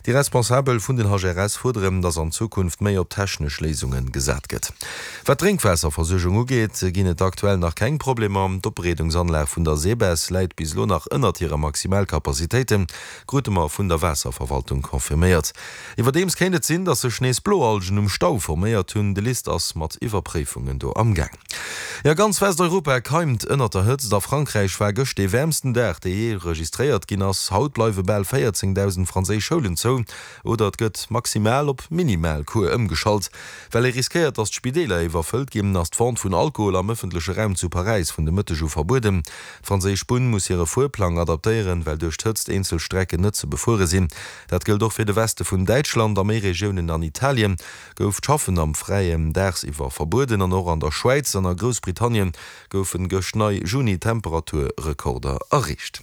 Déi Responsabel vun den HRS fuerderen, datt an Zukunft méi op technesch Léisunge gesat gëtt. Wat d'Drénkwaasserversuergung ugeet, ginn et aktuell nach keng Problemer. D'Opbereedungsanlag vun der SEBES läit bis elo nach ënnert hire Maximalkapazitéiten, krute mer vun der Waasserverwaltung confirméiert. Iwwerdeems kéint et sinn, datt sech nees Bloalgen um Stau forméiert hunn. De LIST ass mat Iwwerpréifungen do amgaang. Jo, ganz Westeuropa keimt ënnert der Hëtzt. A Frankräich war gëscht dee wäermsten Dag, dee jee registréiert ginn ass. Haut bleiwe bal 14.000 franséisch Schoulen zou oder et gëtt maximal op minimal Cours ëmgeschalt. Well ee riskéiert, datt d'Spideeler iwwerfëllt ginn, ass d'Vente vun Alkohol am ëffentleche Raum zu Paräis vun de Mëtteg u verbueden. D'franséisch Bunn muss hire Fuerplang adaptéieren, well duerch d'Hëtzt eenzel Strecken net ze befuere sinn. Dat gëllt och fir de Weste vun Däitschland a méi Regiounen an Italien. Gouf d'Schaffen am Fräien daagsiwwer verbueden an och an der Schwäiz an a Groussbritannien goufen gëscht nei Juni-Temperaturrekorder erreecht.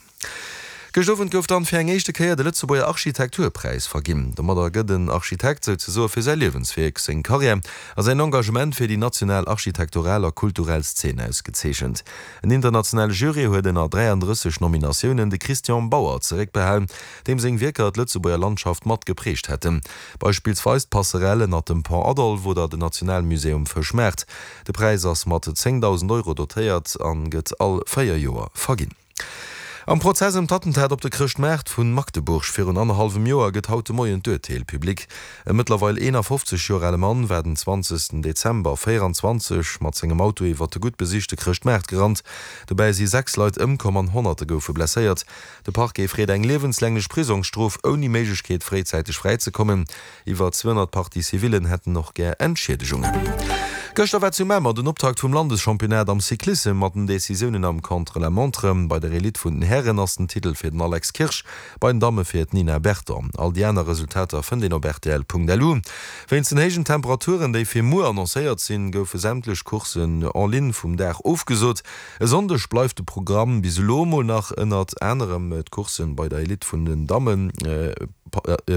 Gëscht Owend gouf dann fir eng éischte Kéier de Lëtzebuerger Architekturpräis verginn. Domadder gëtt en Architekt souzesoe fir säi Liewenswierk, seng Karriär a säin Engagement fir déi national architektural a kulturell Szene ausgezeechent. En internationale Jury huet ënner 33 Nominatiounen de Christian Bauer zeréckbehalen, deem seng Wierker d'Lëtzebuerger Landschaft mat geprägt hätten. Beispillsweis d'Passerelle ënnert dem Pont Adolphe oder den Nationalmusée um Fëschmaart. De Präis ass mat 10.000 Euro dotéiert an gëtt all 4 Joer verginn. Am Prozess ëm d'Attentat op de Chrëschtmaart vu Magdeburg virun annerhallwem Joer gëtt haut de Moien d'Urteel public. E mëttlerweil 51 Joer ale Mann war den 20 Dezember 24 mat sengem Auto iwwer de gutt besichte Chrëschtmaart gerannt. Dobäi si 6 Leit ëmkomm an Honnerte goufe blesséiert. De Parquet freet eng liewenslänglech Prisongsstrof ouni Méiglechkeet fréizäiteg fräizekommen. Iwwer 200 Parties civillen hätten och gär Entschiedegungen. Gëschter war zu Mamer den Optakt vum Landeschampionnat am Cyclissem mat den Decisiounen am Contre-la-montre. Bei der Elite vun den Hären ass den Titel fir den Alex Kirsch, bei den Damme fir d'Nina Berton. All déi aner Resultater fënnt een op rtl.lu. Wéinst den héijen Temperaturen, déi fir muer annoncéiert sinn, goufe sämtlech Courssen en ligne vum Dag ofgesot. E Sonndeg bleift de Programm bis elo mol nach ënnert anerem d'Courssen bei der Elite vun den Dammen,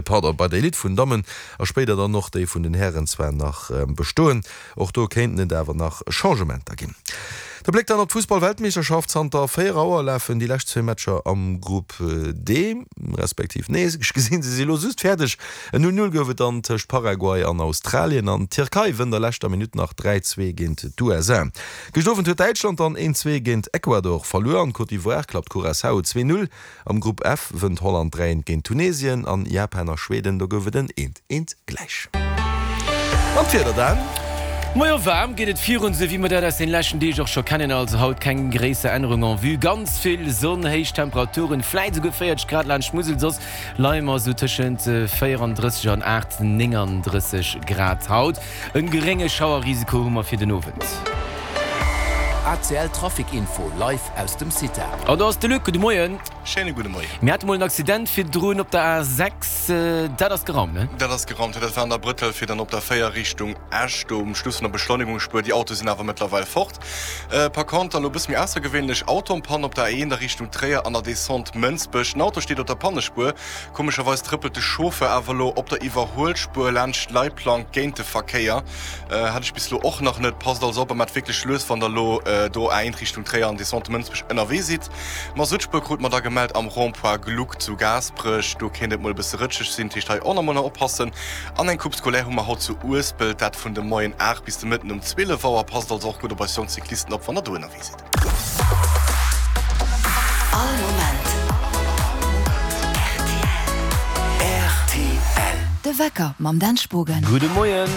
pardon, bei der Elite vun Dammen a spéider dann och déi vun den Hären zwar nach bestoen. Och do kéinten et awer nach Changementer ginn. De Bléck dann op d'Fussball-Weltmeeschterschaft, Zanter 4 Auer lafen déi lescht zwee Matcher am Grupp D, respektiv nee, ech gesinn se si elo just fäerdeg. En 0, 0 gouf et dann tëscht Paraguay an Australien an d'Tierkei wënnt a leschter Minutt nach 3, 2 géint d'USA. Gëscht Owend huet Däitschland dann een 2 géint Ecuador verluer an Côte d'Ivoire klappt Curaçao 2, 0. Am Grupp F wënnt Holland 3, 1 géint Tunesien an Japan a Schweden, do gouf et en 1, 1 gläich. An d'Wieder dann? Majo, waarm geet et virun, sou wéi mer dat aus den leschten Deeg och scho kennen. Also haut keng gréisser Ännerung en vue, ganz vill Sonn, héich Temperaturen, vläit esouguer 40 Grad laanscht d'Musel, soss leie mer esou tëschent 34 an 8, 39 Grad haut. En gerénge Schauerrisiko hu mer fir den Owend. ACL Trafic Info live aus dem CITA. An do ass de Luc. Gudde Moien. Schéine gudde Moien. Mir hate mol en Accident virdrun op der A6. Dat ass geraumt, ne? Dat ass geraumt, jo. Dat war an der Brëttel fir dann op der 4 Richtung Esch, do um Schluss vun der Beschleunigungsspuer. Déi Autoe sinn awer mëttlerweil fort. Par contre elo e bësse méi aussergewéinlech, Auto-en-panne op der A1 a Richtung Tréier an der Descente Mënsbech. Den Auto steet op der Pannespuer. Komescherweis trëppelt de Chauffeur awer elo op der Iwwerhuelspuer laanscht d'Leitplank géint de Verkéier. Hat ech bis elo och nach net. Passt also op a maacht wierklech lues, wann der elo do A1 Richtung Tréier an Descente Mënsbech ënnerwee sidd. D'Masutspuer krute mer da gemellt am Rond-point Gluck zu Gaasperech. Do kéint et mol e bësse rëtscheg sinn, dat heescht hei och nach mol oppassen. An eng Coupe scolaire hu mer haut zu Uespelt, dat vun de Moien 8 bis de Mëtten um 12 Auer. Passt also och gutt op eis jonk Cyclisten op, wann der do ënnerwee sidd. All Moment rtl. De Wecker mam Dan Spogen. Gudde Moien.